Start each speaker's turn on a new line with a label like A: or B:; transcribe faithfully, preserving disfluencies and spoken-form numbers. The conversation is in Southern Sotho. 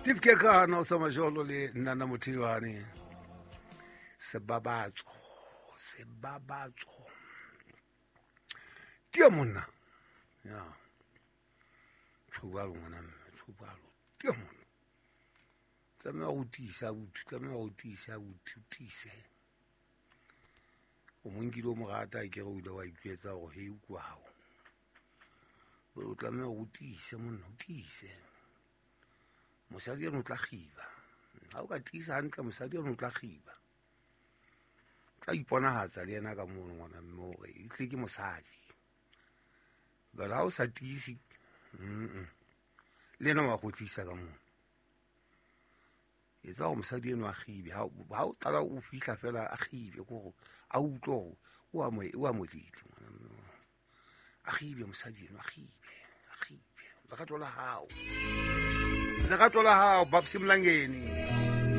A: Steve Kekana o sa majolo le Nana Mothilwane. Sebabatso, sebabatso. Tia monna. Ya. Tshubalo ngwana mme, tshubalo. Tia monna. Tlameha go tiisa botho, tlameha go tiisa botho, tiise. O mo nkile o mo rata ke re o ile wa itjwetsa hore hei o kwa hao. O tlameha go tiise monna, o tiise. Mosadi eno o tla kgiba. Ha o ka tiisa hantle mosadi eno o tla kgiba. Tla iponahatsa le yena ka mono ngwana mme hore e tle ke mosadi. But ha o sa tiise, mm le yena wa kgotlisa ka mono. Etsa hore mosadi eno a kgibe. Ha o qala o fihla fela a kgibe ke hore a utlwe hore o a mo o a modile ngwana mme. A kgibe mosadi eno, a kgibe, a kgibe. Lerato la hao. Lerato la hao, Babs Mlangeni.